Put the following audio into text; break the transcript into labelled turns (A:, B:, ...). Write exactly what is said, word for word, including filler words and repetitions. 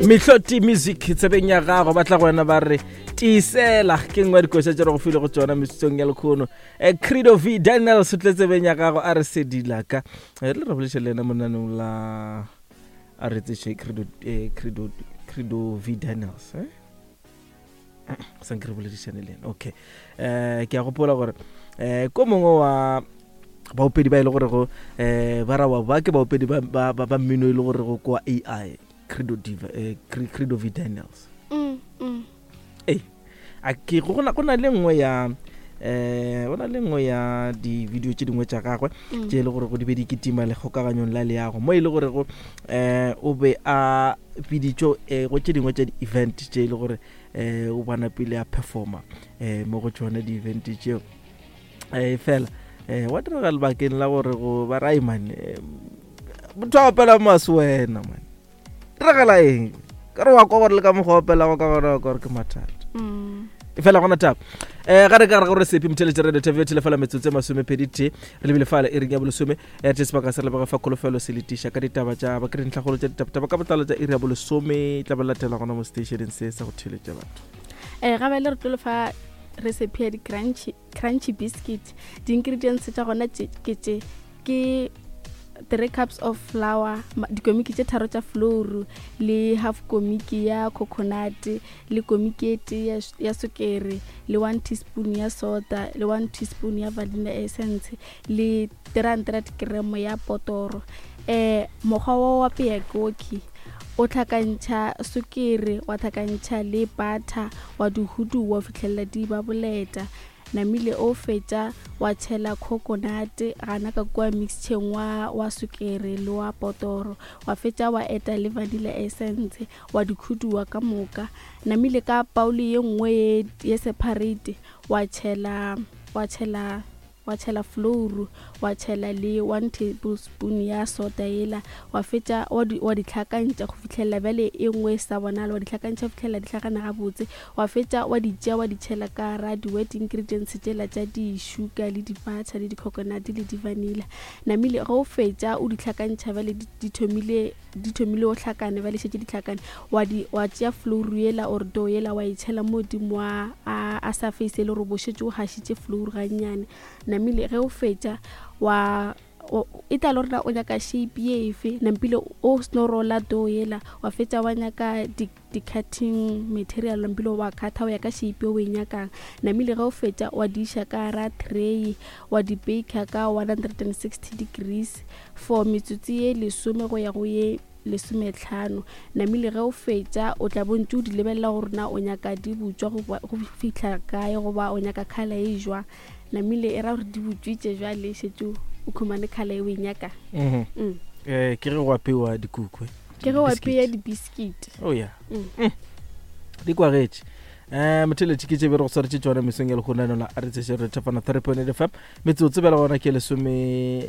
A: Mihloti Music tsebeng ya gago, ba tla go wena ba re tiisela. Ke nngwe ya dikoša tše re go file go tsona metsotsong ya lekgono. um Credo V Daniels o tle tsebeng ya gago, a re sedilaka. Re le re boletše le yena monaneng la a re tseše Credo, eh, Credo, Credo V Daniels, eh? Sanke re boledišane le yena. Okay, um ke a gopola gore um ko mongwe wa baopedi ba e le gorego um ba rawa ba ke baopedi ba, ba, ba, ba mmino e le gorego kwa A I Credo, Diva, eh, Credo V Daniels.
B: mm, mm.
A: Ee, a ke go na go na le nngwe ya eh go na le nngwe ya di-video tše dingwe tša gagwe
B: Mm.
A: tše e le gore go di be di kitima le kgokaganyong la leago, mo e le gorego um o be a biditšwe um go tše dingwe tša di-event tše e le gore um o bona pele a performa um mo go tšona di-event tšeo. um fela um wa direga lebakeng la gore go ba rai man, motho a opela mase wena man, diragala eng ka re wa kwa gore le ka mokgwa opelago ka gona wa kwa gore ke mathata.
B: Mm.
A: Fela gona taba um ga re ka re gore sepe motheletše radio T V telefela metsotso e masomepedi tee re lebile fale e reng ya bolesome ya te sebaka se re lebega fa kholofelo se letiša ka ditaba tša ba ke dintlhagolo tša ditabtaba ka botlalo tša iri ya bolesome tla ba latela gona mo stationeng se sa go theletša batho.
B: um ga bale re tlo lefa recipe ya di-crunchy crunchy biscuit. Di-ingredients tša gona tše- ke tše: ke three cups of flour, ma- dikomiki tše tharo tša flour, le half komiki ya coconut, le komiki e tee ya, ya sukere, le one teaspoon ya soda, le one teaspoon ya vanilla essence, le three hundred gram ya potoro. um mokgwa wa wa apea ke oke: o tlhakantšha sukiri, wa tlhakantšha le butter, wa di huduwa go fitlhelela di ba boleta. Namile o fetša wa tšhela coconut gana ka kua mixtureng wa, wa sukiri le wa potoro, wa fetša wa eta le vanilla essence, wa di khuduwa ka moka. Namile ka bowl ye nngwe ye, ye separate wa tšhela wa tšhela wa tšhela flour, wa tšhela le one tablespoon ya soda yela, wa fetša wa di, wa di tlhakantšha go fitlhelela bjale e nngwe e sa bonala, wa di tlhakantšha go fitlhelela di hlakana gabotse. Wa fetša wa di tšea wa di tšhela ka ra di-wet ingredients tšela tša di-sugar le di-butter le di-coconut le di-vanilla. Namile ge o fetša o di tlhakantšha bjale di, di thomile di thomile go hlakana, bjale šetše di hlakane, wa di wa tšea flour yela or dough yela, wa e tšhela mo godimo a, a, a surface e le gore bo šetše o gašitše flour gannyane. Namile ge o fetša wa o- e tla le gore na o nyaka shape ye efe. Nampile o seno rola dough yela, wa fetša wa nyaka di di-cutting material, nampile wa cutha o ya ka shape o e nyakang. Namile ge o fetša wa di iša ka ra tray, wa di baker ka one hundred and sixty degrees for metsotso ye lesome go ya go ye lesometlhano. Namile ge o fetša o tla bontse o di lebelela gore na o nyaka di butswa go ba- go fihla kae, goba o nyaka colour e jwang. Namile e ra gore di butswitše, jwale šetše o khumane colour e o e nyakang.
A: um
B: Mm.
A: Ke ge go apewa dikuku, eh?
B: Ke ge o
A: Biscuit.
B: apeya di-biscuit.
A: Oh ya.
B: Mm.
A: Mm. di kwagetše um motheletše ke tšebe re go swaretše tsona mesong ya lekgonano la a re tseše re thapana three point eight F M. Metsotso bjale gona ke lesome.